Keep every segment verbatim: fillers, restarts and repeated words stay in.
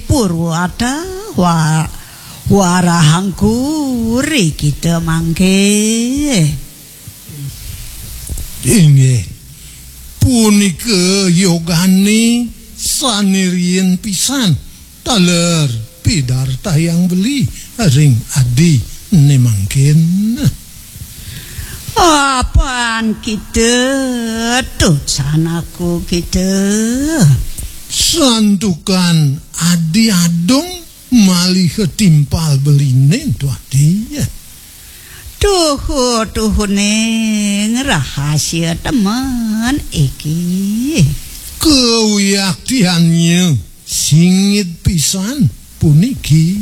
Purwata wa-, warahangku ri kita mangke. Inggih. Punika yogane sane riin pisan taler pidartayang beli ring adi ne mangkin. Apan kita, tuh sanaku kita. Santukan adi adung malih timpal beline, Tuati. Tuhu-tuhune rahasia temen iki. Kawiyaktiannya singit pisan puniki.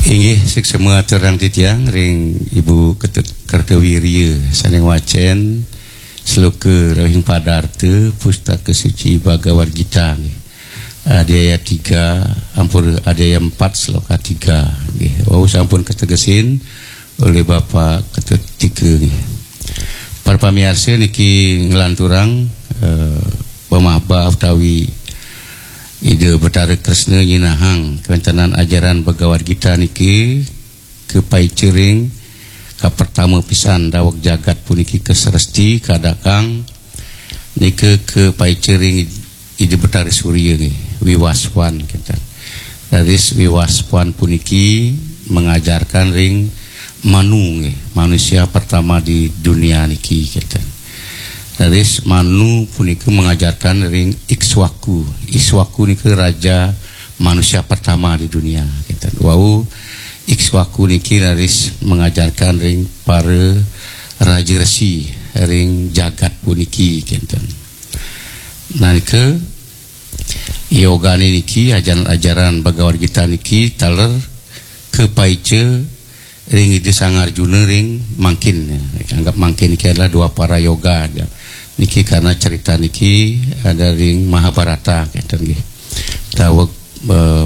Inggih, suksma aturang titiang ring Ibu Ketut Kertawirya sane ngwacen sloka ring Padarta Pustaka Suci Bhagavad Gita nggih. Adhyaya tiga, ampun, adhyaya empat sloka tiga nggih. Wau sampun kategesin oleh Bapak Ketut Tika nggih. Para pamiarsa niki nglanturang, eh, pamahbah utawi Ida Betara Kresna nyinahang kawentenan ajaran Bhagavad Gita niki kapaica ring kapertama pisan daweg jagat puniki kasresti kadakang nika kapaica ring Ida Betara Surya nggih, Wiwaswan kenten. Raris Wiwaswan puniki mengajarkan ring Manu nggih, manusia pertama di dunia niki kenten. Raris Manu punika mengajarkan ring Ikswaku. Ikswaku nika raja manusia pertama di dunia kenten. Wau Ikswaku niki raris mengajarkan ring para raja resi ring jagat puniki kenten. Nah, nika yogane niki, ajaran-ajaran Bhagavad Gita niki taler kapaica ring Ida Sang Arjuna ring mangkin, ya. Anggap mangkin niki adalah Dwapara Yoga, ya. Niki karena cerita niki ada ring Mahabharata kenten nggih. Daweg, eh,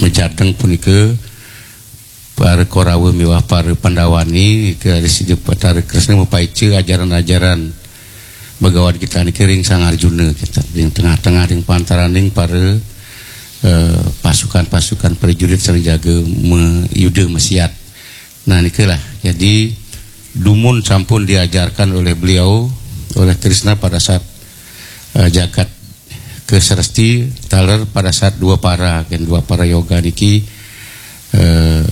majadeng punika para Korawa miwah para Pandawane, nika raris Ida Betara Kresna mapaica ajaran-ajaran Bhagavad Gita niki ring Sang Arjuna, kita ring tengah-tengah, ring pantaraning para, eh, pasukan-pasukan prajurit sane jaga mayuda masiat. Nah, nikalah. Jadi, dumun sampun diajarkan oleh beliau, oleh Krishna pada saat, eh, jagat kasresti, taler pada saat Dwapara, kan, Dwapara Yoga niki, eh,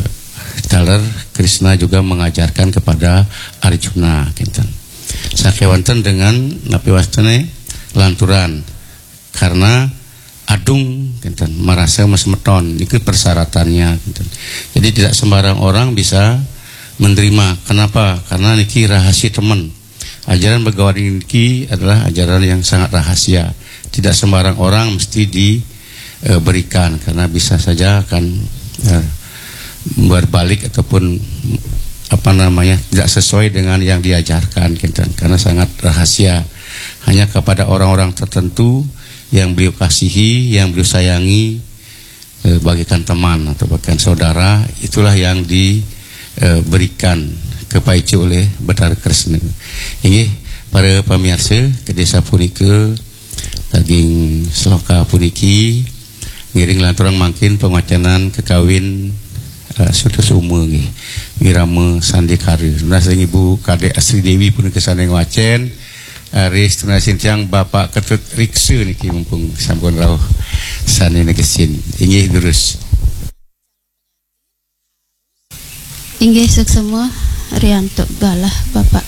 taler Krishna juga mengajarkan kepada Arjuna, kinten. Sakewanten dengan napi wastane lanturan, karena adung, kinten, merasa masemeton, niki persyaratannya, kinten. Jadi tidak sembarang orang bisa menerima. Kenapa? Karena niki rahasia temen. Ajaran Bhagavad Gita niki adalah ajaran yang sangat rahasia. Tidak sembarang orang mesti di, eh, berikan, karena bisa saja akan, eh, berbalik ataupun, apa namanya, tidak sesuai dengan yang diajarkan, kinten, karena sangat rahasia. Hanya kepada orang-orang tertentu yang beliau kasihi, yang beliau sayangi, eh, bagaikan teman atau bagaikan saudara, itulah yang di, eh, berikan, kapaica oleh Betara Kresna. Inggih, para pamiarsa, kedasa punika daging sloka puniki ngiring lanturang mangkin pamacanan kakawin, eh, Sutasoma nggih, Wirama Sandikara. Nunas ring Ibu Kadek Asri Dewi punika sane ngwacen, eh, ring tunasin tiang Bapak Ketut Riksa niki mumpung sampun rauh sane negesin. Inggih, durus. Inggih, suksma riantuk galah Bapak